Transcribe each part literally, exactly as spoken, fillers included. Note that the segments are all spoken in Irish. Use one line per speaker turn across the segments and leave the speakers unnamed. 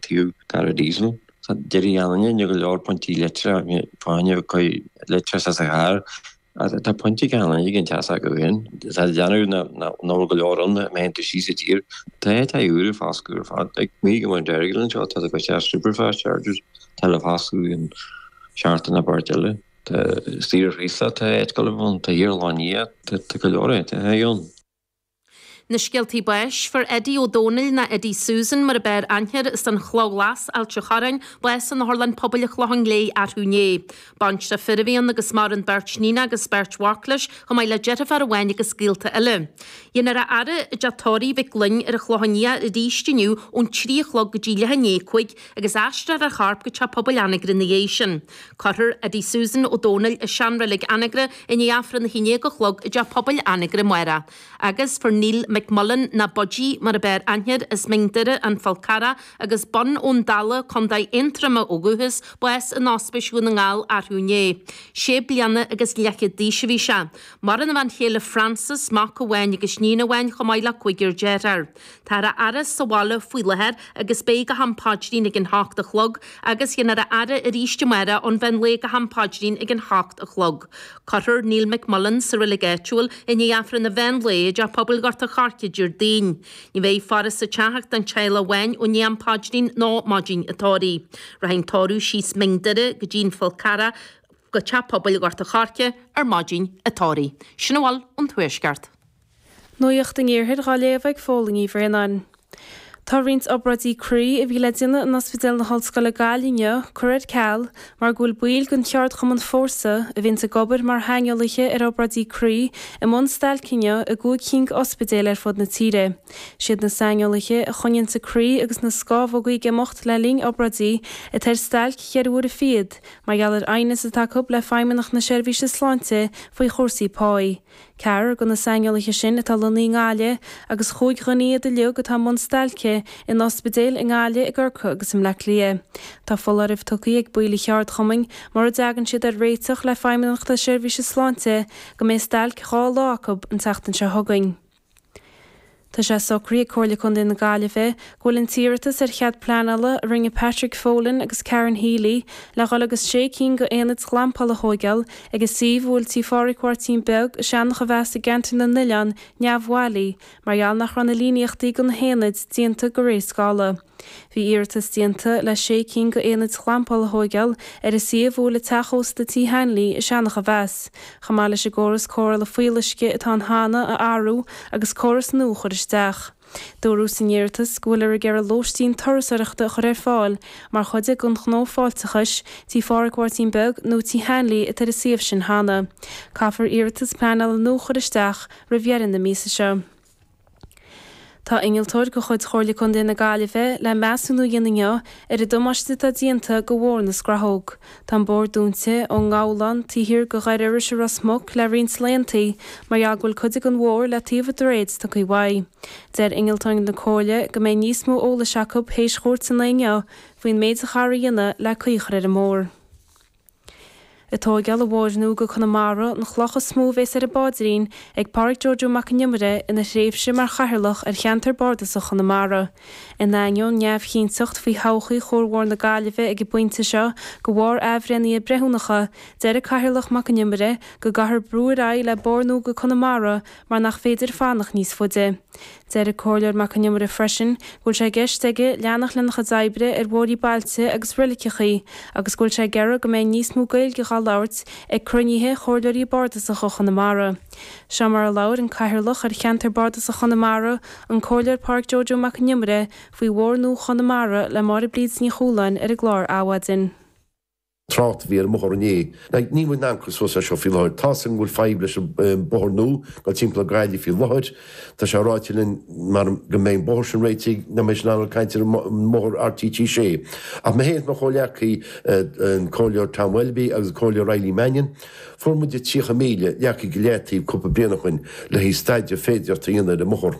taobh cara diesel. Tá deirí anne go leor pointí leictreacha fáinne chuid leictreachas sa charr. Tá pointí gan ag teas go hin. Tá déanamh ná go leor an mé tú sí sa tír. Tá tá úr fás ar fad ag mí go mar deirglan seo tá go sé superfast chargers tá le fású an seachtain na bart eile. Tá stír rísa tá go tá hiarláí tá go leor tá hon.
Na scéaltaí báis fuair Eddie Ó Dónaill ná Eddie Susan mar a b'fhearr aithne air as an Chloch Ghlas, Ailt an Chorráin, bás in Otharlann Pobail an Chlocháin Léith arú inné. Baintreach fir a bhí ann agus maireann beirt níon agus beirt mhac leis, chomh maith le deirfiúr amháin agus gaolta eile. Dhéanfar a fhaire i dteach tórraimh Mhic Gloinn ar an Chlochán Liath arís inniu ón trí a chlog go dtí leath i ndiaidh a cúig agus aistreofar a chorp go teach pobail Anagaire ina dhiaidh sin. Cuirfear Eddie Susan Ó Dónaill i seanreilig Anagaire i ndiaidh Aifreann a haon déag a chlog i dteach pobail Anagaire amárach. Agus fuair Neil McMullen ná Budgie mar a b'fhearr aithne air as Mín Doire An Fál Carrach agus Bun ón Dalla Contae Aontroma ó dhúchas, bás in Ospís Dhún na nGall arú inné. Sé bliana agus leathchéad d'aois a bhí sé. Maireann a bhean chéile Frances, mac amháin agus níon amháin chomh maith le cúigear dearthár. Táthar á fhaire sa bhaile faoi láthair agus beidh go ham paidrín ag an hocht a chlog agus dhéanfar a fhaire arís amárach ón mheán lae go ham paidrín ag an hocht a chlog. Cuirfear Neil McMullen sa reilig áitiúil i ndiaidh Aifreann an mheán lae i dteach pobail Ghort an Choirce Déardaoin. Ní bheidh faire sa teach ach don teaghlach amháin ó ndiaidh am paidrín nó maidin an tórraimh. Rachaidh an tórramh síos Mín Doire go dtí an Fál Carrach go teach pobail Ghort an Choirce ar maidin an tórraimh. Sin a bhfuil ón Tuaisceart.
Nuacht an Iarthair dhá léamh ag Fódhla Ní Bhraonáin. Tá roinnt obráidí croí a bhí le déanamh in Ospidéal na hOllscoile Gaillimh inniu curtha ar ceal mar go bhfuil baill den cheardchumann Fórsa, a bhíonns ag obair mar shaineolaithe ar obráidí croí, i mbun stailce inniu i gcúig cinn d'ospidéil ar fud na tíre. Siad na saineolaithe a choinníonns an croí agus na scámhogaí ag imeacht le linn obráidí atá ar stailc cheithre huaire fichead mar gheall ar aighneas atá acu le Feidhmeannacht na Seirbhíse Sláinte faoi chúrsaí páí. Ceathrar de na saineolaithe sin atá lonnaithe i nGaillimh agus chúig dhuine iad uilig atá i mbun stailce in ospidéil i nGaillimh, i gCorcaigh agus i mBleá Cliath. Tá foláireamh tugtha ag baill an cheardchumainn mura dtagann siad ar réiteach le Feidhmeannacht na Seirbhíse Sláinte go mbeidh stailc dhá lá acu an tseachtain seo chugainn. Tá sé socraithe ag Comhairle Contae na Gaillimhe go bhfuil an t-iarratas ar chead pleanála a rinne Patrick Folan agus Karen Healy le dhul agus sé cinn de aonaid ghlampála a thóigeáil ag an suíomh a bhfuil Tí Phádraig Mháirtín Beag i Seanach a Mheas i gceantar na nOileán neamhbhailí mar gheall nach raibh na líníochtaí do na haonaid déanta de réir scála. Bhí iarratas déanta le sé cinn de aonaid ghlampála a thóigeáil ar an suíomh a bhfuil an teach ósta Tí Hanley i Seanach a Mheas, chomh maith leis an gcóras cóireála fuíolluisce atá ann cheana a athrú agus córas nua a chur isteach. Dúradh san iarratas go bhfuiltear ag iarraidh lóistín turasóireachta a chur ar fáil mar chuid den ghnó fáilteachais, Tí Phádraig Mháirtín Beag nó Tí Hanley atá ar an suíomh sin cheana. Caithfear iarratas pleanála nua a chur isteach roimh dheireadh na míosa seo. Tá innealtóir de chuid Chomhairle Contae na Gaillimhe le measúnú a dhéanamh inniu ar an damáiste atá déanta do Bhóthar na Scrathóg. Tá an bóthar dúnta ón nGabhlán taobh thiar de Dhoire Iorrais i Ros Muc le roinnt laethanta mar gheall go bhfuil cuid den bhóthar le taobh an droichid tugtha uaidh. Deir innealtóir na Comhairle go mbeidh níos mó eolais acu théis chúirt an lae inniu faoin méid a chaithfear a dhéanamh le caoi a chur ar an mbóthar. Ag tóigeáil an bhóthair nua go Conamara an chloch is mó a bhéas ar an bpaidrín ag Pádraig Joe Joe Mac an Iomaire ina thréimhse mar chathaoirleach ar cheantar bardasach Chonamara. In ainneoin neamhchinnteacht faoi thodhchaí Chuarbhóthar na Gaillimhe ag an bpointe seo de bharr athbhreithnithe breithiúnacha, deir an Cathaoirleach Mac an Iomaire go gcaithfear brú ar aghaidh le bóthar nua go Conamara mar nach féidir fanacht níos faide. Deir an Comhairleoir Mac an Iomaire freisin go bhfuil sé i gceist aige leanacht lena chuid oibre ar bhóithrí bailte agus reiligeacha agus go bhfuil sé ag iarraidh go mbeidh níos mó Gaeilge dhá labhairt ag cruinnithe Chomhairleoirí Bardasacha Chonamara. Seo mar a labhair an Cathaoirleach ar Cheantar Bardasach Chonamara, an Comhairleoir Pádraig Joe Joe Mac an Iomaire faoi Bhóthar Nua Chonamara le Máire Bríd Ní Chualáin ar an gclár Adhmhaidin.
Trácht a bhí ar an mbóthar inné. Like, níl muid in ann cur suas leis seo faoi láthair. Tá's againn go bhfuil fadhb leis an bóthar nua dul timpeall ar Ghaillimh faoi láthair. Tá sé ráite linn mar go mbeidh an bóthar sin réitigh, nach mbeidh sin ann caint ar an mbóthar RTT sé. Ach mé féin is mo chomhghleacaí, an Comhairleoir Tom Welby agus an Comhairleoir Eileen Mannion, fuair muid tríocha míle leagtha go leataobh cúpla bliain ó shin le haghaidh staidéar féideartha a dhéanamh ar an mbóthar.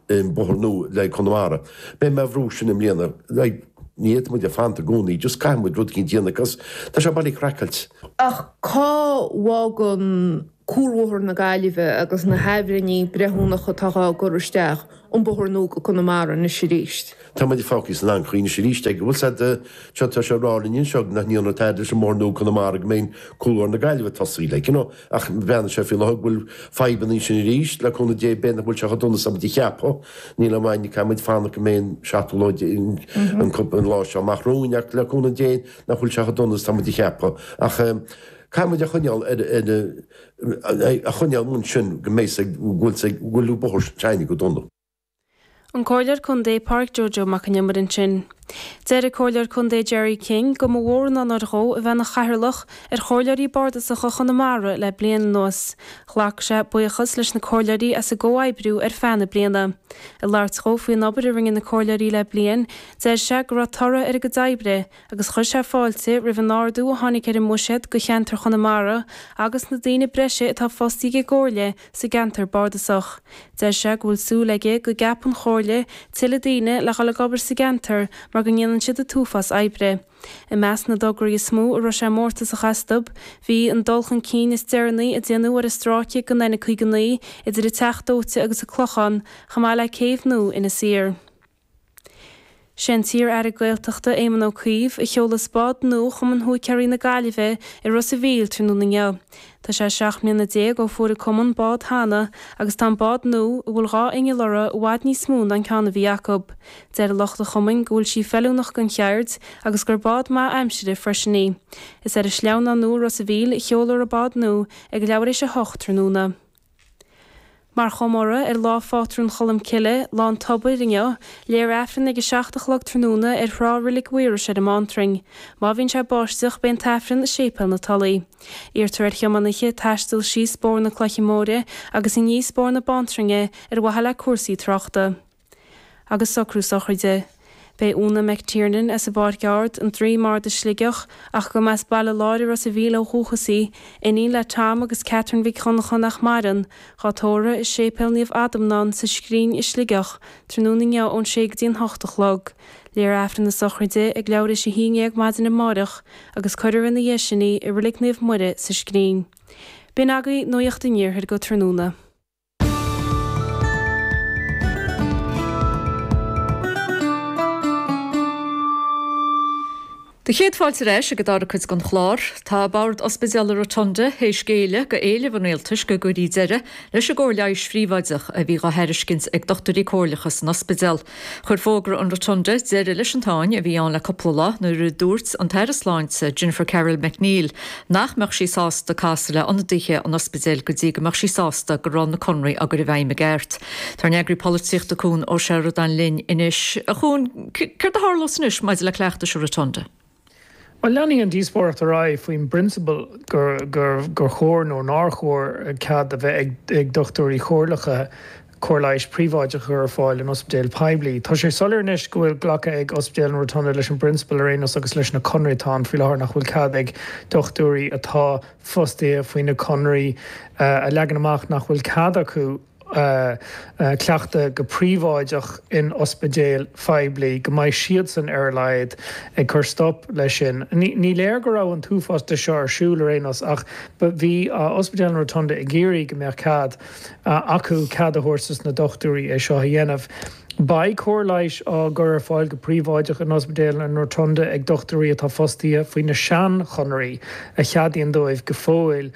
an bóthar nua le haghaidh Conamara. Beidh mé á bhrú sin i mbliana. Like, ní fhéadfaidh muid a fanacht i gcónaí, just caithfidh muid rud eicínt a dhéanamh cos tá sé bailí craiceailt.
Ach cá bhfágann Cuarbhóthar na Gaillimhe agus na hathbhreithnithe breithiúnacha atá á gcur isteach, an bóthar nua go Conamara anois arís.
Tá muid fágtha san anchaoi anois arís ag, bhfuil said, seo tá sé rá linn anseo nach ndéanfar tada leis an mbóthar nua Conamara go mbeidh Cuarbhóthar na Gaillimhe tosaithe, like, you know, ach breathnaíonn sé faoi láthair go bhfuil fadhbanna ansin arís, le cúnamh Dé b'fhéidir nach bhfuil sé chomh dona is a muid a cheapadh, níl aon mhaith, caithfidh muid fanacht go mbeidh an seachtú lá an an lá seo amach romhainn ach le cúnamh Dé nach bhfuil sé chomh dona is tá muid a cheapadh ach caithfidh muid a choinneáil ar ar a choinneáil ansin go mbeidh go bhfuil go bhfuil an bóthar teine go dona.
An Comhairleoir Contae Pádraic Joe Joe Mac an Iomaire ansin. Deir an Comhairleoir Contae Gerry King go mba mhór an onóir dhó a bheith ina chathaoirleach ar Chomhairleoirí Bardasacha Chonamara le bliain anuas. Ghlac sé buíochas leis na comhairleoirí as a gcomhoibriú ar feadh na bliana. Ag labhairt dhó faoin obair a rinne na comhairleoirí le bliain, deir sé go raibh toradh ar a gcuid oibre agus chuir sé fáilte roimh an ardú a tháinig ar an mbuiséad do cheantar Chonamara agus na daoine breise atá fostaithe ag an gComhairle sa gceantar bardasach. Deir sé go bhfuil súil aige go gceapfaidh an Chomhairle tuilleadh daoine le dhul ag obair sa gceantar mar go ndéanann siad an t-uafás oibre. I measc na dtograí is mó a raibh sé mórtasach astu, bhí an dul chun cinn is deireanaí a déanadh ar an stráice den N caoga naoi idir an Teach Dóite agus an Clochán, chomh maith le céibh nua Inis Oírr. Sé an t-iar-aire Gaeltachta Éamon Ó Cuív a sheolas bád nua Chumann Húicéirí na Gaillimhe i Ros a' Mhíl tráthnóna inniu. Tá sé seacht mbliana déag ó fuair an cumann bád cheana agus tá an bád nua, a bhfuil dhá inneall uirthi, i bhfad níos mó ná an ceann a bhí acu. Deir lucht an chumainn go bhfuil sí feiliúnach don cheird agus gur bád maith aimsire freisin í. Is ar an Sleamhnán Nua i Ros a' Mhíl a sheoladh an bád nua ag leathuair éis a hocht tráthnóna. Mar chomóradh ar Lá Phátrún Cholm Cille, Lá an Tobair, inniu, léifear Aifreann ag a seacht a chlog tráthnóna ar thrá Reilig Mhaorais ar an mBántrainn. Má bhíonn sé ag báisteach, beidh an tAifreann i Séipéal na Tulaí. Iarrtar ar thiománaithe taisteal síos Bóthar na Cloiche Móire agus aníos Bóthar na Bántrainne ar mhaithe le cúrsaí tráchta. Agus socrú sochraide. Beidh Úna McTiernan as an bPáirc Ard, an Droim Ard i Sligeach, ach go mba as Baile Láir i Ros a' Mhíl ó dhúchas í, iníon le Tom agus Catherine Mhic Dhonncha nach maireann, dhá tórramh i Séipéal Naomh Adhamhnán sa Scrín i Sligeach, tráthnóna inniu ón sé go dtí an hocht a chlog. Léifear Aifreann na sochraide ag leathuair théis a haon dhéag maidin amáireach agus cuirfear ina dhiaidh sin í i Reilig Naomh Muire sa Scrín. B'in agaibh Nuacht an Iarthair go tráthnóna.
Do chéad fáilte ar ais ag an dara cuid den chlár. Tá Bord Ospidéal Rotunda théis géilleadh go éileamh an rialtais go gcuirfí deireadh leis an gcóir leighis phríobháideach a bhí dhá thairiscint ag dochtúirí comhairleacha san ospidéal. Chuir fógra an Rotunda deireadh leis an tsáinn a bhí ann le cúpla lá nuair a dúirt an tAire Sláinte Jennifer Carroll MacNeill nach mbeadh sí sásta casadh le ionadaithe an ospidéil go dtí go mbeadh sí sásta go raibh na conraí á gcur i bhfeidhm i gceart. Tá ár n-eagraí polaitíochta Cuan Ó Seireadáin linn anois. A Chuain, céard a tharlós anois maidir le cleachtais an Rotunda?
Bhuel, leanfaidh an díospóireacht ar aghaidh faoin bprionsabal gur gur chóir nó nár chóir cead a bheith ag ag dochtúirí comhairleacha cóir leighis príobháideach a chur ar fáil in ospidéil poiblí. Tá sé soiléir anois go bhfuil glactha ag Ospidéal an Rotunda leis an bprionsabal ar aon nós agus leis na conraí atá ann faoi láthair nach bhfuil cead ag dochtúirí atá fostaithe faoi na conraí a leagan amach nach bhfuil cead acu cleachtadh go príobháideach in ospidéil phoiblí, go mbeidh siadsan ar a laghad ag cur stop leis sin. Ní léir go raibh an t-uafás de seo ar siúl ar aon nós ach bhí Ospidéal an Rotunda ag iarraidh go mbeadh cead acu cead a thabhairt dos na dochtúirí é seo a dhéanamh. Beidh cóir leighis á gcur ar fáil go príobháideach in Ospidéal an Rotunda ag dochtúirí atá fostaithe faoi na seanchonarthaí a cheadaíonn dóibh go fóill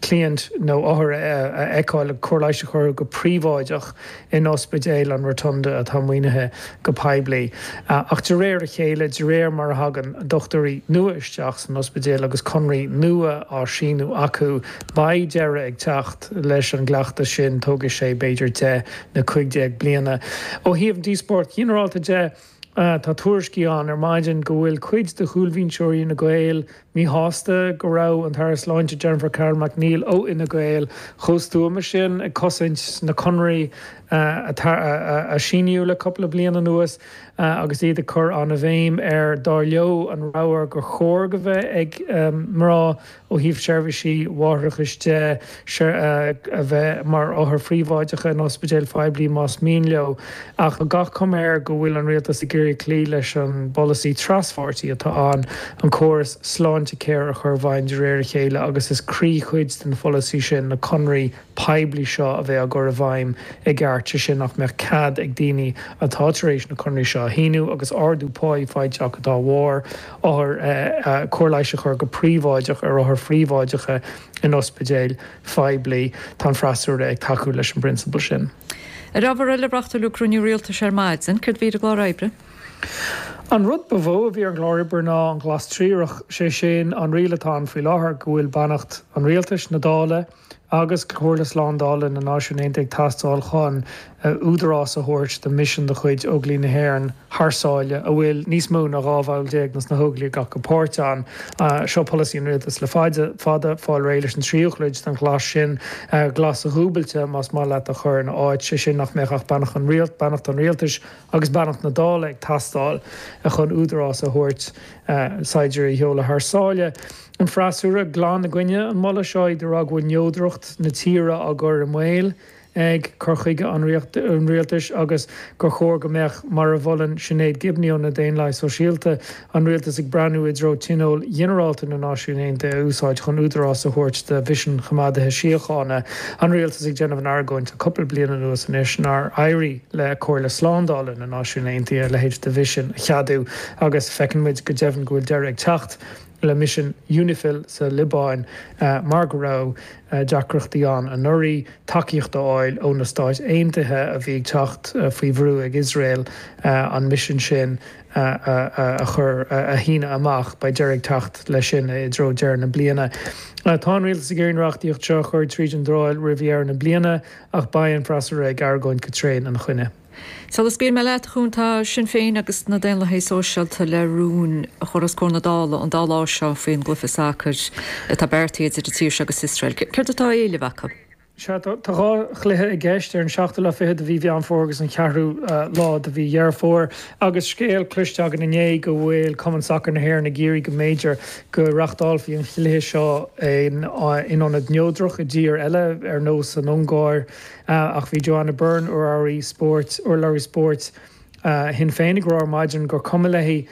cliaint nó othair a fheiceáil, cóir leighis a chur orthu go príobháideach in Ospidéal an Rotunda atá maoinithe go poiblí. Ach de réir a chéile, de réir mar a thagann dochtúirí nua isteach san ospidéal agus conraí nua á síniú acu, beidh deireadh ag teacht leis an gcleachtas sin, tógfaidh sé b'fhéidir deich nó cúig déag bliana. Ó thaobh an díospóireacht ghinearálta de, tá tuairiscí ann ar maidin go bhfuil cuid de chúlbhinseoirí Fhine Gael míshásta go raibh an tAire Sláinte Jennifer Carroll MacNeill ó Fhine Gael chomh stuama sin ag cosaint na conraí a síníodh le cúpla bliain anuas agus iad ag cur an-bhéim ar, dar leo, an rogha gur chóir go bheith ag mná ó thaobh seirbhísí mháithreachais de, a bheith mar othair phríobháideacha in ospidéil phoiblí más mian leo. Ach tá gach cuma air go bhfuil an rialtas ag iarraidh cloí leis an bpolasaí traspháirtí atá ann, an córas Sláintecare a chur i bhfeidhm de réir a chéile agus is croíchuid den pholasaí sin na conraí poiblí seo a bheith á gcur i bhfeidhm i gceart, sé sin nach mbeadh cead ag daoine atá tar éis na conraí seo a shíniú agus ardú páí faighte acu dá bharr, othair, cóir leighis a chur go príobháideach ar othair phríobháideacha in ospidéil phoiblí. Tá an freasúra ag tacú leis an bprionsabal sin.
Ar ábhar eile, reáchtáladh cruinniú rialtais ar maidin. Céard a bhí ar an gclár oibre?
An rud ba mhó a bhí ar an gclár oibre ná an Glas Triarach, sé sin an riail atá ann faoi láthair go bhfuil beannacht an rialtais, na Dála agus Comhairle Slándála na Náisiún Aontaithe ag teastáil chun údarás a thabhairt do mhisean de chuid Óglaigh na hÉireann thar sáile, a bhfuil níos mó ná dhá bhall déag de na hÓglaigh ag glacadh páirt ann. Seo polasaí an rialtais le fada, fada, fáil réidh leis an tríú cuid den ghlas sin, glas dhúbailte más maith leat, a chur ina áit, sé sin nach mbeadh ach beannacht an beannacht an rialtais agus beannacht na Dála ag teastáil chun údarás a thabhairt saighdiúirí a sheoladh thar sáile. An freasúra glan i gcoinne an mholadh seo, iad ag rá go bhfuil neodracht na tíre á gcur i mbaol ag cur chuige an rialtais agus gur chóir go mbeadh, mar a mholann Sinéad Gibney ó na Daonlathaigh Sóisialta, an rialtas ag breathnú i dtreo Tionól Ghinearálta na Náisiún Aontaithe a úsáid chun údarás a thabhairt do mhisean choimeádaithe síochána. An rialtas ag déanamh an argóint le cúpla bliain anuas anois nár éirigh le Comhairle Slándála na Náisiún Aontaithe a leithéid de mhisean a cheadú agus feiceann muid go deimhin go bhfuil deireadh ag teacht le misean Unifil sa Liobáin mar go raibh deacrachtaí ann anuraidh tacaíocht a fháil ó na Stáit Aontaithe a bhí ag teacht faoi bhrú ag Iosrael an misean sin a chur a shíneadh amach. Beidh deireadh ag teacht leis sin i dtreo deireadh na bliana. Tá an rialtas ag iarraidh an reachtaíocht seo a chur tríd an Dáil roimh dheireadh na bliana ach beidh an freasúra ag argóint go tréan ina choinne.
Sula scaoilfidh mé leat, a Chuain, tá Sinn Féin agus na Daonlathaigh Sóisialta le rún a chur os comhair na Dála an dá lá seo faoin gcluiche sacair atá beartaithe idir an tír seo agus Iosrael. Céard atá á éileamh acu?
Sea, tá dhá chluiche i gceist, ar an seachtú lá fichead de mhí Mheán Fómhair agus an ceathrú lá de mhí Dheireadh Fómhair, agus scéal cloiste againn inné go bhfuil Cumann Sacair na hÉireann ag iarraidh go mb'fhéidir go reachtálfaí an chluiche seo in ionad neodrach i dtír eile, ar nós an Ungáir. Ach bhí Joanna Byrne, urlabhraí spóirt, urlabhraí spóirt Shinn Féin ag rá ar maidin gur cuma léi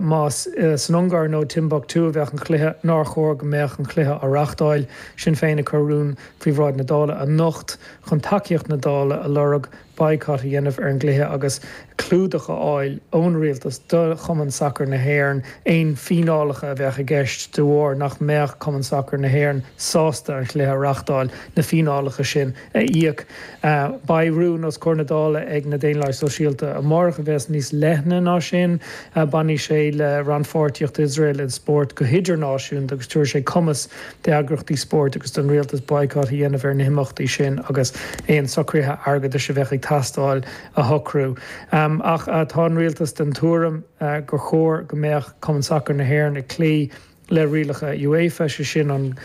más san Ungáir nó Timbuktu a bheadh an cluiche, nár chóir go mbeadh an cluiche á reachtáil. Sinn Féin ag cur rún faoi bhráid na Dála anocht chun tacaíocht na Dála a lorg boycott a dhéanamh ar an gcluiche agus clúdach a fháil ón rialtas do Chumann Sacair na hÉireann aon fíneálacha a bheadh i gceist de bharr nach mbeadh Cumann Sacair na hÉireann sásta an chluiche a reachtáil, na fíneálacha sin a íoc. Beidh rún os comhair na Dála ag na Daonlathaigh Sóisialta amárach a bheas níos leithne ná sin. Bainfidh sé le rannpháirtíocht Iosrael i spórt go hidirnáisiúnta agus tabharfaidh sé cumas d'eagraíochtaí spóirt agus don rialtas boycott a dhéanamh ar na himeachtaí sin agus aon socruithe airgeadais a bheadh ag teastáil a shocrú. Ach tá an rialtas den tuairim gur chóir go mbeadh Cumann Sacair na hÉireann ag cloí le rialacha UEFA, sé sin an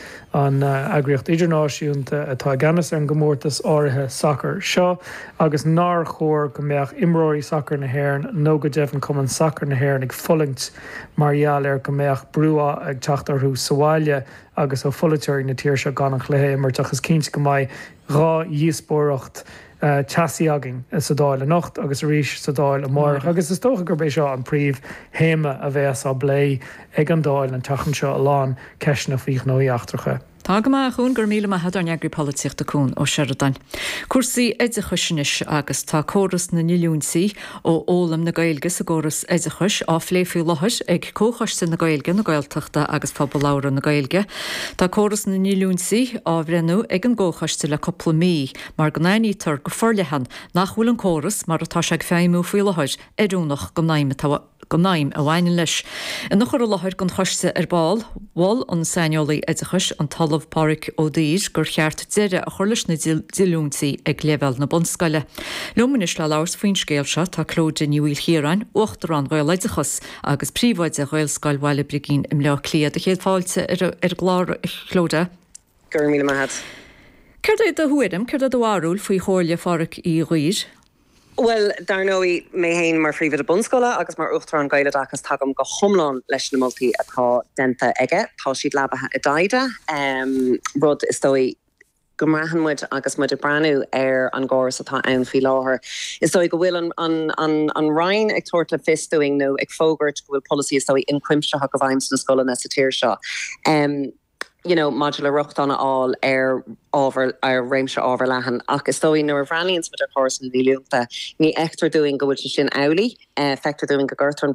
eagraíocht idirnáisiúnta atá i gceannas ar an gcomórtas áirithe sacair seo, agus nár chóir go mbeadh imreoirí sacair na hÉireann nó go deimhin Cumann Sacair na hÉireann ag fulaingt mar gheall ar go mbeadh brú ag teacht orthu sa bhaile agus ó pholaiteoirí na tíre seo gan an chluiche a imirt. Ach is cinnte go mbeidh dhá dhíospóireacht teasaí againn sa Dáil anocht agus arís sa Dáil amárach agus is dócha gurb é seo an príomh théama a bheas á bplé ag an Dáil an tseachtain seo, a lán ceisteanna faoi ghnóthaí eachtracha.
Tá go maith, a Chuain, go raibh míle maith agat, ár n-eagraí polaitíochta Cuan Ó Seireadáin. Cúrsaí oideachais anois agus tá córas na ndíolúintí ó fhoghlaim na Gaeilge sa gcóras oideachais á phlé faoi láthair ag Comhchoiste na Gaeilge, na Gaeltachta agus Phobal Labhartha na Gaeilge. Tá córas na ndíolúintí á bhreithniú ag an gComhchoiste le cúpla mí mar go n-aithnítear go forleathan nach bhfuil an córas mar atá sé ag feidhmiú faoi láthair oiriúnach don fheidhm atá don fheidhm a bhaineann leis. Ina chur i láthair don choiste ar ball, mhol an saineolaí oideachais, an tOllamh Pádraig Ó Duibhir, gur cheart deireadh a chur leis na díolúintí ag leibhéal na bunscoile. Liom anois le labhairt faoin scéal seo tá Clodagh Ní Mhaoilchiaráin, Uachtarán Ghaeloideachas agus Príomhoide Ghaelscoil Bhaile Brigín i mBleá Cliath. Do chéad fáilte ar an gclár, a Chlodagh.
Go raibh míle maith agat.
Céard é do thuairim, céard é do bharúil faoi chomhairle Phádhraic Uí Dhuibhir?
Well, dar ndóigh mé féin mar phríomhoide bunscoile agus mar uachtarán Gaeloideachas tagaim go hiomlán leis na moltaí atá déanta aige. Tá siad leabaithe i dtaighde, um, rud is dóigh go mbraitheann muid agus muid ag breathnú ar an gcóras atá ann faoi láthair. Is dóigh go bhfuil an, an, an, an Roinn ag tabhairt le fios dúinn nó ag fógairt go bhfuil polasaí is dóigh ionchuimsitheach i bhfeidhm sna scoileanna sa tír seo. Um, you know, maidir le rochtain a fháil ar ábhar ar réimse ábhar leathan ach is dóigh nuair a bhreathnaíonn muid ar chóras na díolúinte ní fheictear dúinn go bhfuil sé sin amhlaidh, uh, feictear dúinn go gcuirtear an